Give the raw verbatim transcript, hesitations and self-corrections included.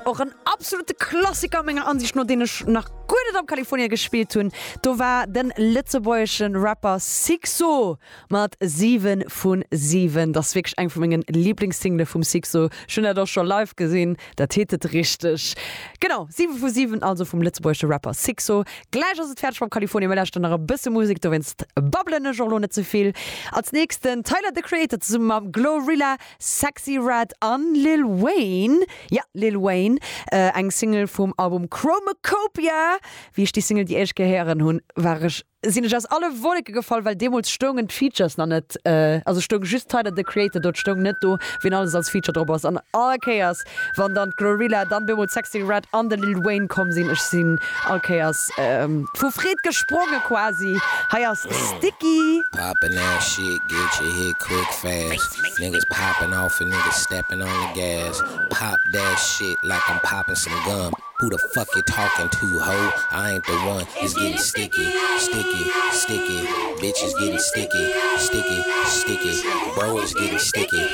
Och en absolute Klassiker menger Ansicht no, deen ech nach guer net am Kalifornia gespillt hunn. Do war den lëtzebuergeschen Rapper Sixo mat siwe vu siwen. Dat ass wierklech eng vu mengen Liblingssingle vum Sixo. Ech hunn dat och scho live gesinn, dat hittet richteg. Genau, siwe vu siwen also vum lëtzebuergesche Rapper Sixo. Gläich ass et fäerdeg mam Kalifornia, mir lauschteren nach e bësse Musek, dowéinst babbelen ech och lo net ze vill. Als nächsten Tyler the Creator zesumme mam Glorilla, Sexyy Red an Lil Wayne. Ja, Lil Wayne, äh, eng Single vum Album Chromakopia. Wéi ech déi Single déi éischt Kéier héieren hunn, war ech sinn ech aus alle Wolleke gefall, well deemools stoungen d'Features nach net, äh, also stoung just Tyler the Creator do, stoung net do, wien alles als Feature drop ass. An all Kéiers, wann dann Glorilla, dann bemol Sexyy Red an de Lil Wayne komm sinn, ech sinn all Kéiers ähm, vu Freed gespronge quasi. Hei ass Sticky. Poppin' that shit, get you hit quick fast. Niggas popping off and niggas stepping on the gas. Pop that shit like I'm popping some gum. Who the fuck you talking to, ho? I ain't the one. It's getting sticky, sticky, sticky. Bitches getting sticky, sticky, sticky. Bro is getting sticky.